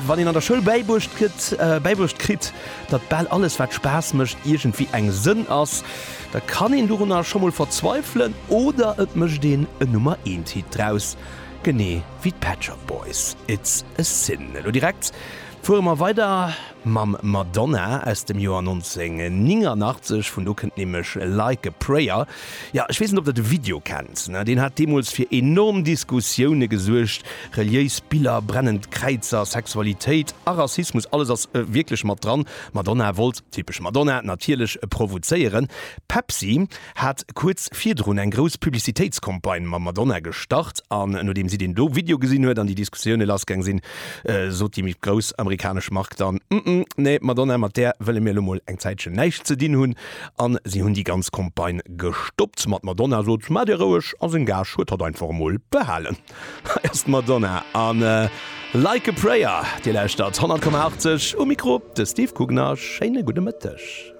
wann een an der Schoul bäibruecht gëtt, bäibruecht kritt, datt bal alles wat Spaass mécht iergendwéi eng Sënn ass, da kann een dorunner scho mol verzweifelen oder et mécht een en Nummer eent Hit draus, genee wéi d'Pet Shop Boys, It's a Sin. Elo direkt fuere mer weider mam Madonna aus dem Joer 1989, vun do kënnt nämlech Like a Prayer. Jo, ech weess net ob der de Video kennt, ne? Deen hat deemools fir enorm Diskussioune gesuergt, reliéis Biller, brennend Kräizer, Sexualitéit a Rassismus, alles ass wierklech mat dran. Madonna wollt, typesch Madonna natierlech, provozéieren. Pepsi hat kuerz virdrun eng grouss Publicitéitscampagne mam Madonna gestart an nodeem si deen do Video gesinn huet an déi Diskussioune lassgaang sinn, sot déi méi grouss amerikanesch Mark dann, Mm-mm, nee Madonna, mat där wëlle mir elo mol eng Zäitchen näischt ze dinn hunn. An si hunn déi ganz Campagne gestoppt. Ma d'Madonna sot, Maacht Dir roueg a seng Gage huet hatt einfach emol behalen. Hei ass d'Madonna an Like a Prayer. Dir lauschtert 100,80 um Mikro de Steve Kugner. Schéine gudde Mëtteg.